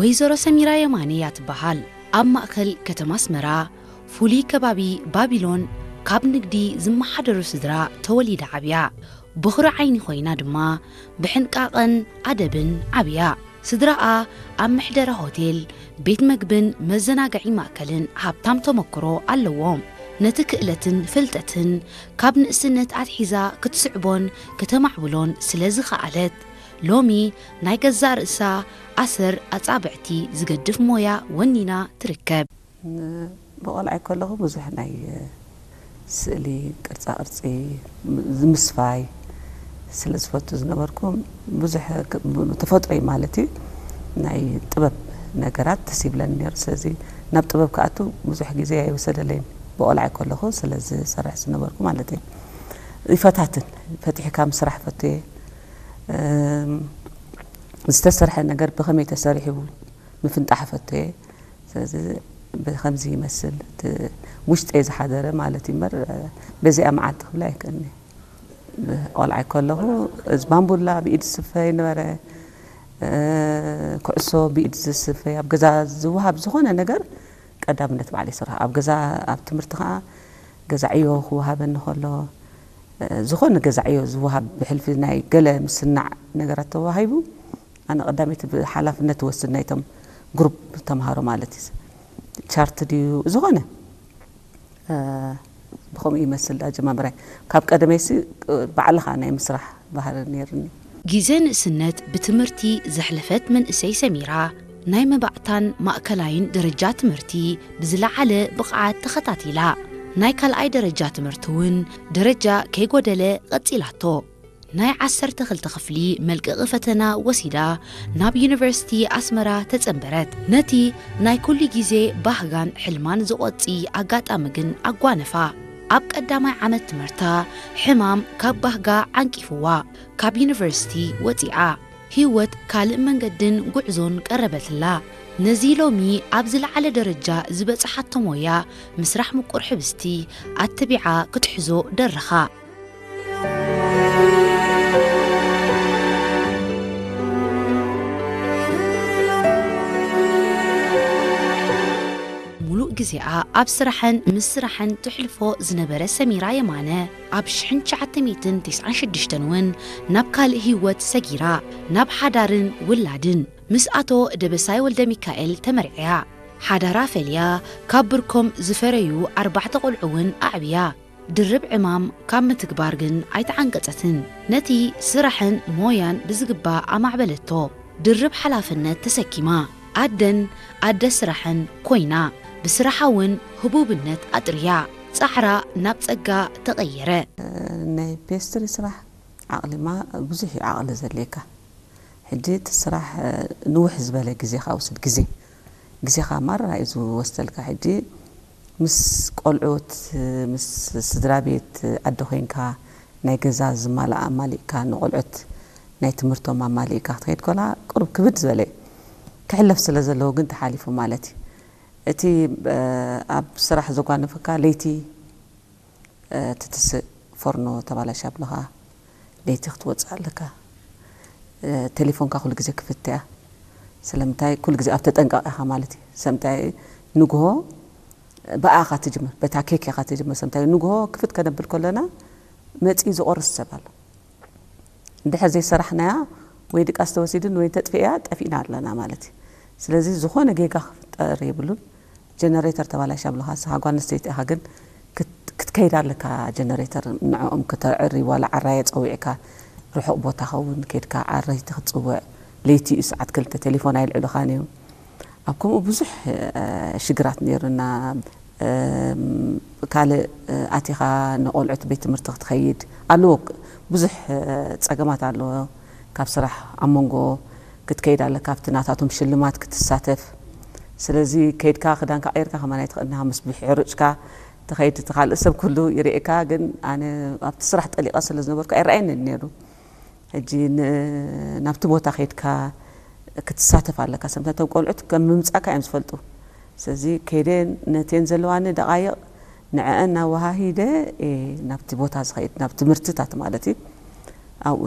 ወይዘሮ ሰሚራ የማነ እያ ትበሃል። ኣብ ማእከል ከተማ ኣስመራ፣ ፍሉይ ከባቢ ባቢሎን፣ ካብ ንግዲ ዝመሓደሩ ስድራ ተወሊዳ ዓብያ። በኹሪ ዓይኒ ኮይና ድማ ብሕንቃቐን ኣደብን ዓብያ። ስድራኣ ኣብ መሕደሪ ሆቴል፣ ቤት መግብን መዘናግዒ ማእከልን ሃብታም ተመክሮ ኣለዎም። ነቲ ክእለትን ፍልጠትን ካብ ንእስነት ኣትሒዛ ክትስዕቦን ከተማዕብሎን ስለ ዝኸኣለት፣ ሎሚ ናይ ገዛእ ርእሳ ኣሰር ኣጻብዕቲ ዝገድፍ ሞያ ወኒና ትርከብ። ብቆልዓይ ከለኹ ብዙሕ ናይ ስእሊ፣ ቅርጻ ቅርጺ፣ ምስፋይ ስለ ዝፈቱ ዝነበርኩ፣ ብዙሕ ክ-፣ ተፈጥሮይ ማለት እዩ፣ ናይ ጥበብ ነገራት ተሲብለኒ ነይሩ። ስለዚ ናብ ጥበብ ክኣቱ ብዙሕ ግዜ ኣይወሰደለይን፣ ብቆልዓይ ከለኹ ስለ ዝሰርሕ ዝነበርኩ ማለት እዩ። ይፈታትን፣ ፈቲሕካ ምስራሕ ፈትየ፣ እም፣ ዝተሰርሐ ነገር ብኸመይ ተሰሪሑ ምፍንጣሕ ፈትየ። ስለዚ ብኸምዚ ይመስል እቲ ውሽጠይ ዝሓደረ ማለት እዩ እምበር፣ በዚኣ መዓልቲ ክብላ ኣይክእልኒ። ቆልዓይ ከለኹ እዚ ባምቡላ ብኢድ ዝስፈ ይነበረ፣ ኩዕሶ ብኢድ ዝስፈ፣ ኣብ ገዛ ዝወሃብ ዝኾነ ነገር ቀዳምነት ባዕለይ ይሰርሖ። ኣብ ገዛ፣ ኣብ ትምህርቲ ኸዓ ገዛ ዕዮ ክወሃበኒ ከሎ፣ ዝኾነ ገዛ ዕዮ ዝወሃብ ብሕልፊ ናይ ገለ ምስናዕ ነገራት ተዋሂቡ፣ ኣነ ቀዳመይቲ ብሓላፍነት ትወስድ ናይቶም ግሩፕ ተምሃሮ ማለት እዩ። ቻርት ድዩ ዝኾነ፣ እ፣ ብኸምኡ ይመስል ኣጀማምራይ። ካብ ቀደመይሲ፣ እ፣ ባዕልኻ ናይ ምስራሕ ባህሪ ነይርኒ። ግዜ ንእስነት ብትምህርቲ ዘሕለፈት መንእሰይ ሰሚራ፣ ናይ መባእታን ማእከላይን ደረጃ ትምህርቲ ብዝለዓለ ብቕዓት ተኸታቲላ። ናይ ካልኣይ ደረጃ ትምህርቲ እውን ደረጃ ከይጎደለ ቀጺላቶ። ናይ ዓሰርተ ክልተ ክፍሊ መልቀቒ ፈተና ወሲዳ ናብ ዩኒቨርሲቲ ኣስመራ ተጸንበረት። ነቲ ናይ ኩሉ ግዜ ባህጋን ሕልማን ዝቖጺ ኣጋጣሚ ግን ኣጓነፋ። ኣብ ቀዳማይ ዓመት ትምህርታ ሕማም ካብ ባህጋ ዓንቂፍዋ ካብ ዩኒቨርሲቲ ወጺኣ። ህይወት ካልእ መንገድን ጉዕዞን ቀረበትላ። ነዚ ሎሚ ኣብ ዝለዓለ ደረጃ ዝበጽሓቶ ሞያ ምስራሕ ምቁር ሕብስቲ ኣተቢዓ ክትሕዞ ደረኻ። ሙሉእ ግዜኣ ኣብ ስራሕን ምስ ስራሕን ትሕልፎ ዝነበረ ሰሚራ የማነ፣ ኣብ ሽሕን ትሽዓተ ሚእትን ተስዓን ሽዱሽተን እውን ናብ ካልእ ህይወት ሰጊራ፣ ናብ ሓዳርን ውላድን ምስ ኣቶ ደበሳይ ወልደ ሚካኤል ተመርዕያ። ሓዳራ ፈልያ፣ ካብ ብርኮም ዝፈረዩ ኣርባዕተ ቆልዑ እውን ኣዕብያ። ድርብ ዕማም ካብ ምትግባር ግን ኣይተዓንቀጸትን። ነቲ ስራሕን ሞያን ብዝግባእ ኣማዕበለቶ። ድርብ ሓላፍነት ተሰኪማ። ኣደን ኣደ ስራሕን ኮይና። ብስራሓ እውን ህቡብነት ኣጥርያ። ጻዕራ ናብ ጸጋ ተቐየረ። ናይ ፔስትሪ ስራሕ ዓቕሊማ ብዙሕ እዩ ዓቕሊ ዘድልየካ። ሕጂ እቲ ስራሕ፣ እ፣ ንውሕ ዝበለ ግዜ ከኣ ውስድ ግዜ፣ ግዜኻ ማራ እዩ ዝወስደልካ። ሕጂ ምስ ቆልዑት፣ ምስ ስድራ ቤት፣ ኣደ ኮይንካ ናይ ገዛ ዝማልኣ ኣማሊእካ፣ ንቆልዑት ናይ ትምህርቶም ኣማሊእካ ክትኸይድ ከላ ቁሩብ ክብድ ዝበለ እዩ። ክሕለፍ ስለ ዘለዎ ግን ተሓሊፉ ማለት እዩ። እቲ፣ እ፣ ኣብ ስራሕ ዘጓነፈካ ለይቲ፣ እ፣ ትትስእ ፎርኖ ተባላሽ ኣብልኻ ለይቲ ክትወፅእ ኣለካ። እ፣ ቴሌፎንካ ኩሉ ግዜ ክፍት እያ። ስለምንታይ? ኩሉ ግዜ ኣብ ተጠንቀቕ ኢኻ ማለት እዩ። ስለምንታይ? ንግሆ ብኣኻ ትጅምር፣ በታ ኬክ ኢኻ ትጅምር። ስለምንታይ? ንግሆ ክፍት ከነብል ከለና መፂኡ ዝቆርስ ሰብ ኣሎ። እንድሕር ዘይሰራሕናያ ወይ ድቃስ ተወሲድን ወይ ተጥፍእያ ጠፊእና ኣለና ማለት እዩ። ስለዚ ዝኾነ ጌጋ ክፍጠር የብሉን። ጀነሬተር ተባላሽ ኣብልኻ፣ ንስኻ ጓል ኣንስተይቲ ኢኻ ግን ክት-፣ ክትከይድ ኣለካ ጀነሬተር ንዕኦም ክተዕሪ፣ ዋላ ዓራየ ጸዊዕካ ርሑቕ ቦታ ኸውን ከይድካ ዓረይቲ ክትጽውዕ፣ ለይቲ እዩ ሰዓት ክልተ ቴሌፎን ኣይልዕሉኻን እዮም። ኣብ ከምኡ ብዙሕ፣ እ፣ ሽግራት ነይሩና። እም፣ ካልእ፣ እ፣ ኣቲኻ ንቆልዑት ቤት ትምህርቲ ክትኸይድ ኣለዎ። ብዙሕ፣ እ፣ ጸገማት ኣለዎ። ካብ ስራሕ ኣብ መንጎ ክትከይድ ኣለካ፣ ኣብቲ ናታቶም ሽልማት ክትሳተፍ። ስለዚ ከይድካ ክዳንካ ቀይርካ ከማን ኣይትኽእልን ኢኻ፣ ምስ ብሕሩጭካ ትኸይድ፣ እቲ ካልእ ሰብ ኩሉ ይርእየካ። ግን ኣነ ኣብቲ ስራሕ ጠሊቐ ስለ ዝነበርኩ ኣይረኣየንን ነይሩ። ሕጂ ን-፣ ናብቲ ቦታ ከይድካ ክትሳተፍ ኣለካ። ሰምታ እቶም ቆልዑት ከም ምምጻእካ እዮም ዝፈልጡ። ስለዚ ከይደ ነተን ዘለዋኒ ደቓይቕ ንዐአን ኣወሃሂደ እየ ናብቲ ቦታ ዝኸይድ፣ ናብ ትምህርትታት ማለት እዩ። ኣብኡ